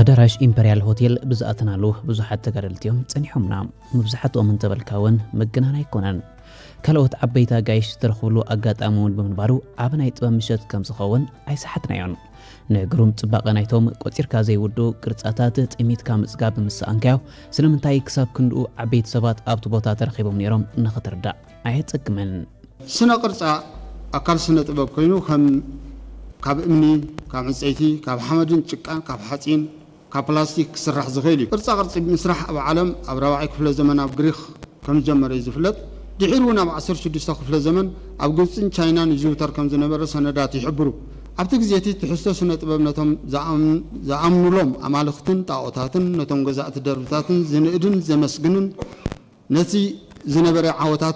ኣዳራሽ ኢምፐርያል ሆቴል ብዝኣተናሉ ብዙሓት ተጋደልቲ እዮም ጸኒሖምና። መብዛሕትኦም እንተበልካ እውን ምግናን ኣይኮነን። ካልኦት ዓበይቲ ኣጋይሽ ዝተረኽብሉ ኣጋጣሚ እውን ብምንባሩ ዓቢ ናይ ጥበብ ምሸት ከም ዝኸውን ኣይሰሓትናዮን። ንግሩም ጽባቐ ናይቶም ቆጺርካ ዘይውዱ ቅርጻታት ጥሚትካ ምጽጋብ ምስ ሰኣንካዮ፣ ስለምንታይ ክሳብ ክንድኡ ዓበይቲ ሰባት ኣብቲ ቦታ ተረኺቦም ነይሮም ንኽትርዳእ ኣየጸግምን። ስነ ቅርጻ ኣካል ስነ ጥበብ ኮይኑ ከም ካብ እምኒ፣ ካብ ዕንጸይቲ፣ ካብ ሓመድን ጭቃን፣ ካብ ሓጺን፣ ካብ ፕላስቲክ ክስራሕ ዝኽእል እዩ። ቅርጻ ቅርጺ ምስራሕ ኣብ ዓለም ኣብ ራብዓይ ክፍለ ዘመን ኣብ ግሪኽ ከም ዝጀመረ እዩ ዝፍለጥ። ድሒሩ እውን ኣብ ዓሰርተ ሽዱሽተ ክፍለ ዘመን ኣብ ግብጽን ቻይናን ይዝውተር ከም ዝነበረ ሰነዳት ይሕብሩ። ኣብቲ ግዜ እቲ ትሕዝቶ ስነ ጥበብ ነቶም ዝኣም- ዝኣምኑሎም ኣማልኽትን ጣኦታትን ነቶም ገዛእቲ ደርብታትን ዝንእድን ዘመስግንን ነቲ ዝነበረ ዓወታት